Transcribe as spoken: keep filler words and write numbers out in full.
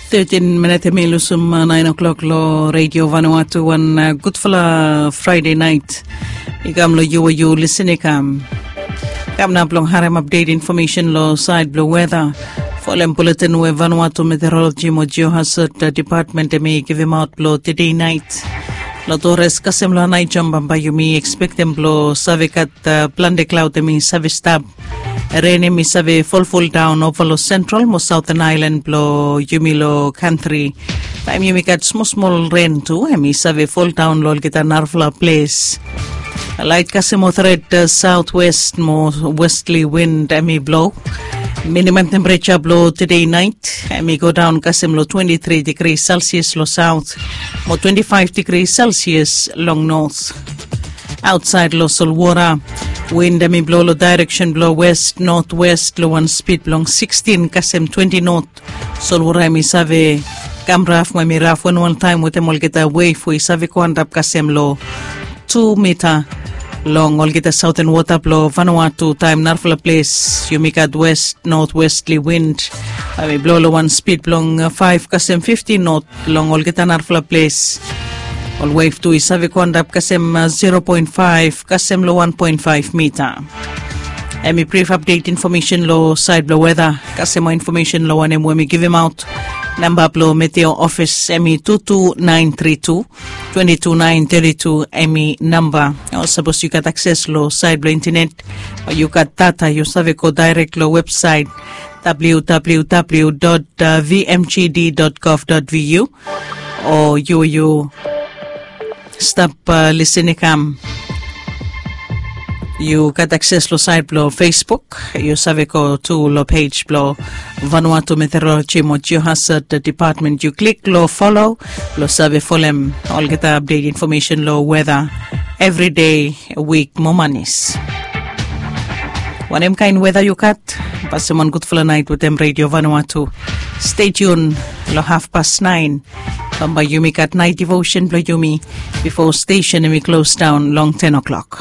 Thirtin minit em i lusum naen o'klok long redio Vanuatu. Wan gudfala Fraede naet i kam long yu we yu lisin i kam. Kam nao blong harem apdet infomesen long saed blong weta. Folem buletin we Vanuatu Meteoroloji mo Geohazard Depatmen em i givimaot blong tede naet. Long tores kasem long naet jom bambae yumi ekspektem blong save gat plante klaod em i save stap. Ren em i save folfoldaon ova long sentral mo saoten aelan blong yumi long kantri. Taem yumi gat smosmol ren tu em i save foldaon long olgeta narafala ples. Laet kasem mo tret saotwest mo westli wind em i blo. Minimam tempereja blong tede naet em i godaon kasem long twenti tri digri selsias long saot mo twenti faef digri selsias long not. Aotsaed long solwora, wind em i blo long daereksen blong west notwest long wan spid blong sikstin kasem twenti not. Solwora em i save kam raf mo em i raf wanwan taem wetem olgeta wef we i save go antap kasem long tu mita. Long olgeta saoten wota blong Vanuatu taem narafala ples yumi gat west notwestli wind, em i blo long wan spid blong faef kasem fifti not. Long olgeta narafala ples ol wef tu i save go antap kasem zero poen faef kasem long wan poen faef mita. Em i brif apdet infomesen long saed blong weta. Kasem moa infomesen long wanem we mi givimaot. Namba blong meteo ofis em i tu tu naen tri tu twenti tu naen teti tu em i namba. O sapos yu gat akses long saed blong intanet o yu gat data yu save go daerek long websaet www vmgd gov vu. O yu yu stap lisin i kam. Yu gat akses long saet blong facebook yu save go tu long pej blong Vanuatu Meteoroloji mo Geohazard Depatmen yu klik long folo blong save folem olgeta apdet infomesen long weta. Evri dei wik mo manis. Wanem kaen weta yu gat? Pasem wan gudfala naet wetem redio Vanuatu. Stetiun long hafpas naen bambae yumi gat naet divosen blong yumi bifo stesen em i klosdaon long ten o'klok.